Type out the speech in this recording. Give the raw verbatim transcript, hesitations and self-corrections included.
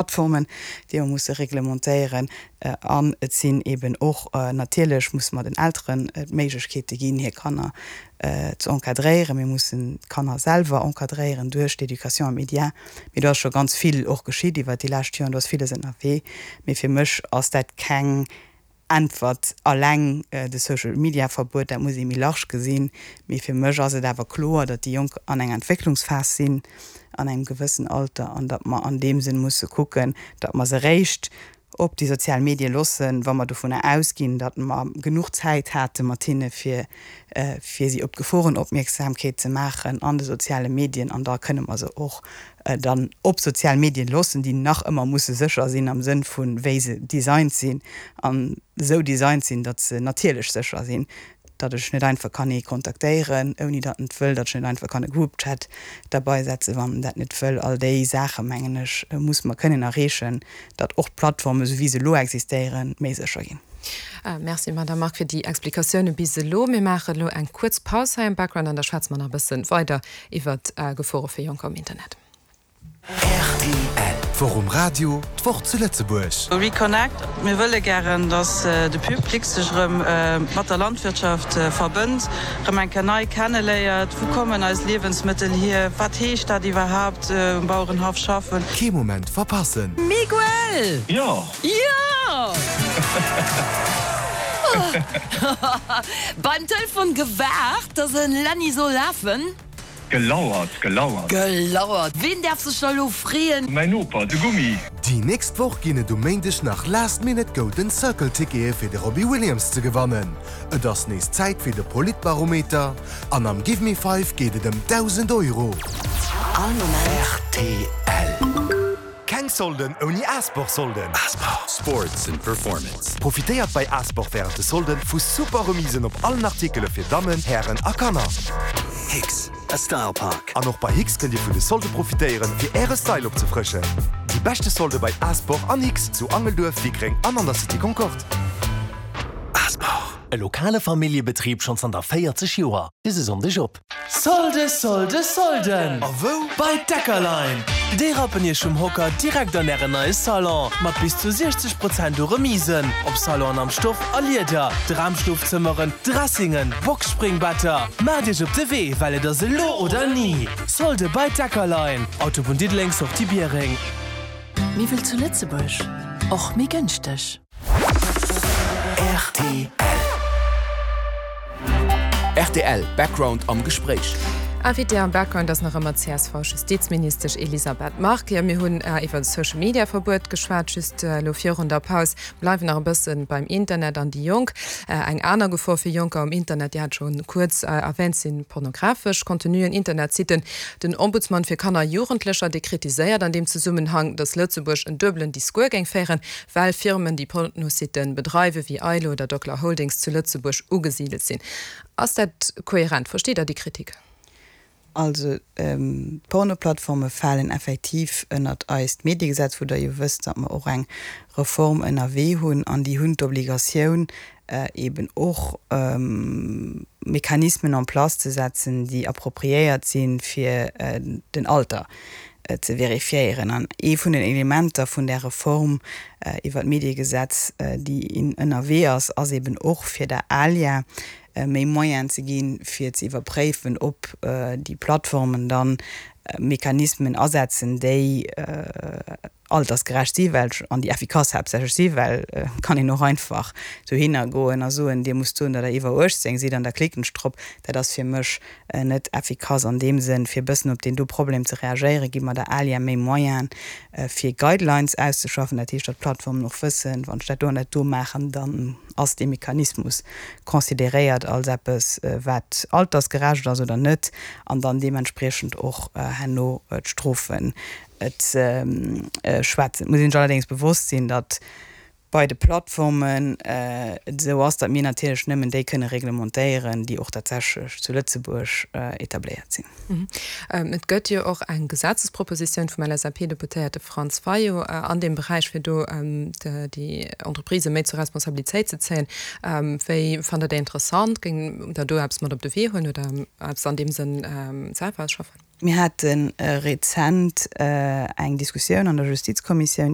Plattformen, déi mer musse reglementéieren. An et sinn eeben och, natierlech musse mer den Elteren d'Méiglechkeete ginn, hir Kanner ze encadréieren. Mir mussen d'Kanner selwer encadréieren duerch d'Éducation aux médias. Mee do ass scho ganz vill och geschitt iwwert déi lescht Joren, do ass villes ënnerwee. Mee fir mech ass dat keng Äntwert alleng de Social Media Verbuet, dat muss ee méi large gesinn. Mee fir mech ass et awer kloer, datt déi Jonk an enger Entwécklungsphas sinn an engem gewëssen Alter an datt mer an deem Sënn musse kucken, datt mer se eréischt op déi sozial Medie loossen, wa mer dovunner ausginn, datt mer genuch Zäit hate mat hinne fir fir si op d'Geforen opmierksamkeet ze maachen an de soziale Medien an da kënne mer se och dann op sozial Medien loossen, déi nach ëmmer musse sécher sinn am Sënn vu wéi se designt sinn an esou designt sinn, datt se natierlech sécher sinn, datt ech net einfach kann ee kontaktéieren, ouni datt en et wëll, datt ech net einfach kann e Groupchat derbei setzen, wann en dat net wëll. All déi Saache mengen ech, musse mer kënnen erreechen, datt och d'Plattformen, esou wéi se elo existéieren, méi sécher ginn. Merci, Madame Margue, fir déi Explikatioune bis elo. Mir maachen elo eng kuerz Paus hei am Background an da schwätze mer nach e bësse weider iwwert Gefore fir Jonker um Internet. Rtl. D'Woch um Radio, d'Woch zu Lëtzebuerg. Reconnect, Mir wëlle gären, datt de Public sech erëm mat der Landwirtschaft verbënnt, erëm eng Kéier nei kenneléiert. Wou kommen eis Liewensmëttel hier? Wat heescht dat iwwerhaapt, um Bauerenhaff schaffen? Kee Moment verpassen! Miguel! Jo! Jo! Beim Telefon gewaart, dass en Lenny soll lafen. Gelauert, gelauert. Gelauert. Ween däerf sech da lo freeën? Mäin Noper, de Gummi. Déi nächst Woch ginn et um Méindeg nach Last Minute Golden Circle Tickete fir de Robbie Williams ze gewannen. Et ass nees Zäit fir de Politbarometer an am Give Me Five geet et ëm dausend Euro. All Moment. Rtl. Keng Solden ouni Asport Solden. Asport. Sports and Performance. Profitéiert bei Asport wärend de Solden vu super Remisen op allen Artikele fir Dammen, Hären a Kanner. Hicks, a Style Park. An och bei Hicks kënnt Dir vun de Solde profitéieren, fir Äre Style opzefrëschen. Déi beschte Solde bei Asport an Hicks zu Angelduerf, Wickreng an an der Cité Concorde. Asport. E lokale Familljebetrib schonn zanter véierzeg Joer. Dëse Sonndeg op. Solde, Solde, Solden! A wou? Bei Deckerlein! Déi rappen iech vum Hocker direkt an ären neie Salon! Mat bis zu siechzeg Prozent u Remisen op Salonen am Stoff a Lieder, Dramschlofzëmmeren, Dressingen, Boxspringbetter. Maacht iech op de Wee, well et ass elo oder ni! Solde bei Deckerlein, Autobunn Diddeleng, Sortie Biereng. Miwwel zu Lëtzebuerg, och méi gënschteg. Rtl. Rtl Background am Gespréich. Invitée am Background ass nach ëmmer d'C S V-Justizministesch Elisabeth Margue. Jo, mir hunn iwwer Social Media Verbuet geschwat just elo virun der Paus. Bleiwen nach e bësse beim Internet an déi Jonk. Eng aner Gefor fir Jonker um Internet, Dir hat scho kuerz erwähnt, si pornografesch Contenuen, Internetsitten. Den Ombudsman fir Kanner a Jugendlecher, dee kritiséiert an deem Zesummenhang, datt Lëtzebuerg en duebelen Discours géing féieren, well Firmen, déi Pornositten bedreiwen, wéi Aylo oder Docler Holdings zu Lëtzebuerg ugesidelt sinn. Ass dat kohärent? Versteet Der déi Kritik? Also d'Pornoplattforme falen effektiv ënnert eist Mediegesetz, wou Der jo wësst, datt mer och eng Reform ënnerwee hunn, an déi hunn d'Obligatioun eben och Mechanismen en place ze setzen, déi appropriéiert sinn, fir den Alter ze vérifiéieren. An ee vun den Elementer vun där Reform iwwert d'Mediegesetz, déi ënnerwee ass, ass eben och fir der ALIA méi Moyenen ze ginn, fir ze iwwerpréifen, ob déi Plattformen dann Mechanismen asetzen, déi altersgerecht si well an déi effikass haaptsächlech si, well et kann een och einfach dohinner goen a soen, Dir musst soen, datt Der iwwer uechtzéng sidd an da klicken ech drop. Dat ass fir mech net effikass an deem Sënn. Fir e bëssen op deen do Problem ze reagéieren, gi mer der ALIA méi Moyenen, fir Guidelines auszeschaffen. Dat heescht, datt d'Plattformen och wëssen, wann ech dat do an dat do maachen, dann ass dee Mechanismus consideréiert als eppes, wat altersgerecht ass oder net, an dann deementspriechend och herno d'Strofen ze schwätzen. Et muss een sech allerdéngs bewosst sinn, datt bei de Plattformen et esou ass, datt mir natierlech nëmmen déi kënne reglementéieren, déi och tatsächlech zu Lëtzebuerg etabléiert sinn. Et gëtt jo och eng Gesetzespropositioun vum L S A P-Deputéierte Franz Fayot an deem Beräich, fir do déi Entreprisë méi zur Responsabilitéit ze zéien. Wéi fannt Der déi interessant? Géingt Der do eppes mat op de Wee huelen oder eppes an deem Sënn selwer ausschaffen? Mir hate rezent eng Diskussioun an der Justizkommissioun